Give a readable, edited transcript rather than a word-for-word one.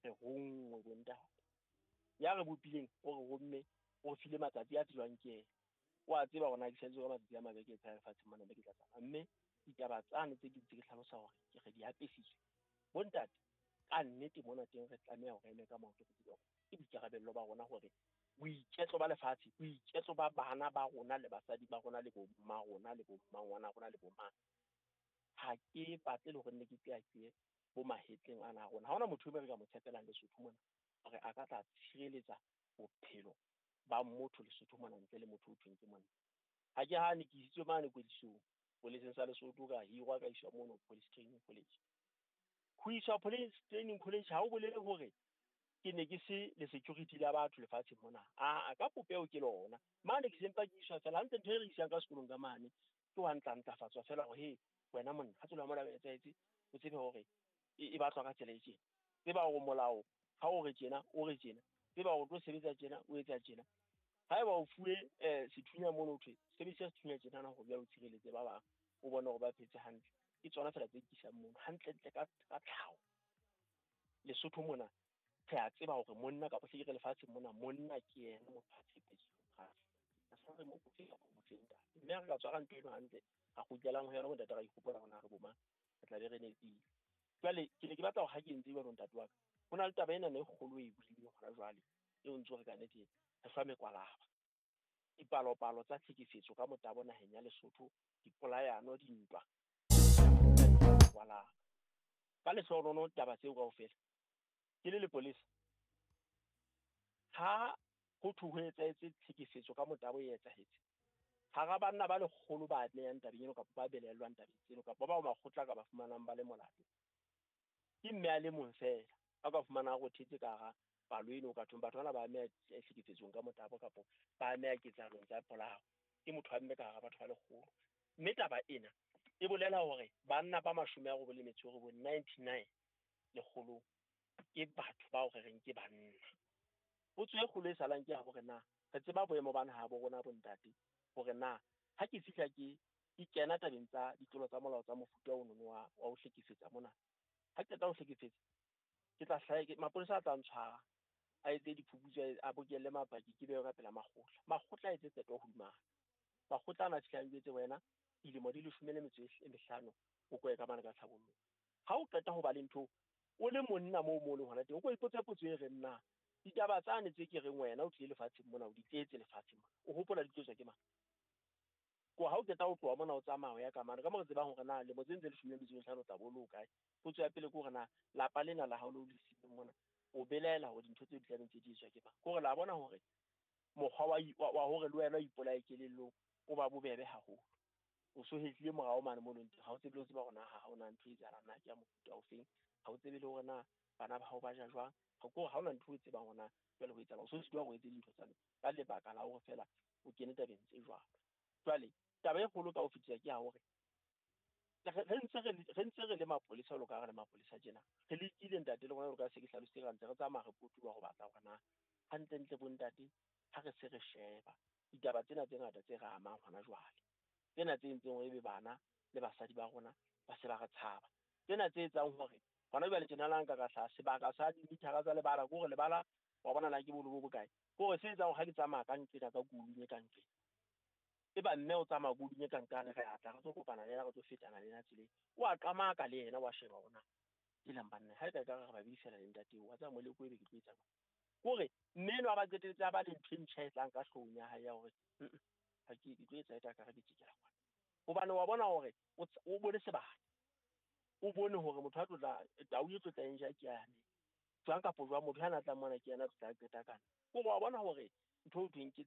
Re ronngwe, bontate. Ya re bopileng o re romme, o re file matsatsi a tsejwang ke yena. O a tseba hore na ke salletswe ka matsatsi a mabeke e lefatsheng mona, mme ke tla tsamaya. Mme ditaba tsane tse ke ntse ke hlalosa hore ke re di apesitswe. Bontate, ka nnete mona teng re tlameha hore eme ka maoto, re tsebe hore ke boikarabello ba rona hore boiketlo ba lefatshe, boiketlo ba bana ba rona le basadi ba rona le bo mma rona le bo mmangwana rona le bo mang. Ha ke batle le hore nne ke qeaqee bo mahetleng ana a rona. Ha hona motho e re ka mo tshepelang Lesotho mona hore a ka tla tshireletsa bophelo ba motho Lesotho mona ntle le motho o thweng ke monna. Ha ke hane ke isitswe mane kwetlisong poleseng sa Lesotho, ka hirwa ka iswa mono Police Training College. Ho iswa Police Training College ha o bolele hore ke ne ke se le security la batho lefatsheng mona. Aa, ka popeho ke lona. Mane ke sempa ke iswa fela hantle, ntho e re isang ka sekolong ka mane ke wa ntlafatswa fela hore he wena monna ha tsela mona etsahetse, o tsebe hore e batlwa ka tsela e tjena. Tseba hore molao ha o re tjena, o re tjena. Tseba hore o tlo sebetsa tjena, o etsa tjena. Haeba o fuwe sethunya mono, ho thwe sebedisa sethunya tjenana hore o tshireletse ba bang, o bone hore ba phetse hantle. Ke tsona fela tse kisang mono hantlentle ka tlhaho. Lesotho mona re a tseba hore monna kapa se ke re lefatsheng mona, monna ke yena motho a tshepetsweng. Re mo botleng ntate. Mme ha re ka tshwara ntho eno hantle, ra kgutlelang ho yona bontate, ra ikgopola hore na re bo mang, re tla be re nepile. Jwale ke ne ke batla hore ha ke entse jwalo ntate wa ka, ho na le taba ena e kgolo e buileng hona jwale, eo ntse re ka nnete re hlwa mekwalaba. Dipalopalo tsa tlhekefetso ka motabo naheng ya Lesotho, dipolayano, dintwa, mekwalaba. Ka lehlohonolo taba tseo kaofela, ke le lepolesa, ha ho thwe ho etsahetse tlhekefetso ka motabo e etsahetse, hara banna ba lekgolo ba amehang tabeng eno kapa ba belaellwang tabeng tseno kapa bao makgotla ka ba fumanang ba le molato, ke mme a le mong fela a ka fumanang a rothetse ka hara palo eno ka thweng batho bana ba ameha tlhekefetsong ka motabo kapa ba ameha ketsahalong tsa polao. Ke motho wa mme ka hara batho ba lekgolo. Mme taba ena e bolela hore banna ba 99, 99 lekgolong ke batho bao re reng ke banna. Potso e kgolo e salang ke ya hore na re tseba boemo ba naha bo rona bontate, hore na ha ke fihla ke kena tabeng tsa ditlolo tsa molao tsa mofuta ono wa ho hlekefetsa mona, ha ke qeta ho hlekefetsa, ke tla hlaha mapolesa a tla ntshwara, a etse diphuputso, a bokelle mapaki, ke bewe ka pela makgotla. Makgotla a etse qeto hodima ka. Makgotla ana a fihla a njwetse wena dilemo di 15 o koe ka mane ka tlhabollong. Ha o qeta ho ba le ntho o le monna moo mo leng hona teng, o ko ipotse potso e reng na ditaba tsane tse ke reng wena o tlile lefatsheng mona, o di tletse lefatsheng mona, o hopola di tlo tswa ke mang? Ko ha o qeta ho tloha mona o tsamaya o ya ka mane, ka mo re tsebang hore na lemo tse ntse 15 o tla bo le ho kae. Potso ya pele ke hore na lapa lena la hao le o le siileng mona, o belaela hore dintho tseo di tla ntse di etswa ke mang? Ke hore la bona hore mokgwa wa hore le wena o ipolaye kelellong o ba bobebe haholo. O so hetlile morao mane mo leng teng, ha o tsebe le ho tseba hore na ha hona ntho e etsahalang, na ke ya mofuta o feng, ha o tsebe le hore na bana ba hao ba ja jwang. Ha ke hore ha hona ntho o tsebang hore na jwale ho etsahala, o so sitwa hore o etse dintho tsa ka lebaka la hore fela o kene tabeng tse jwalo. Jwale taba e kgolo ka ho fetisa ke ya hore re ntse re le mapolesa, jwalo ka ha re le mapolesa tjena, re lekile ntate le rona jwalo ka se ke hlalositse, re ntse re tsamaya re potoloha ho batla hore na hantlentle bontate ha re se re sheba ditaba tsena tse ngata tse re amang hona jwale, tsena tse entseng hore ebe bana le basadi ba rona ba se ba re tshaba, tsena tse etsang hore hona jwale tjena la nka ka hlaha sebaka sa dimithara tsa lebala, ke hore lebala wa bona na ke bolo bo bokae, ke hore se etsang hore ha ke tsamaya ka nqena ka koloi e ka nqena, eba mme o tsamaya koloi e ka nqane, re atla re tlo kopana le yena, re tlo fetana le yena tseleng, o a qamaka le yena, wa sheba hore na ke leng banna ha e ka ekare re babedi fela le ntate eo, wa tseba moleko ebe ke tlo etsa jwang. Ke hore mme enwa ba qetelletse a ba le ntho e ntjha e tlang ka hloohong ya hae ya hore ha ke tlo etsa e ka re ke tjekela kwana, hobane wa bona hore o bone sebaka, o bone hore motho a tlotla tau e tlotla eng ja ke yane jwang kapa jwang, motho ana tlang mona ke yena a tlotla qeta kana. Ke hore wa bona hore ntho e thweng ke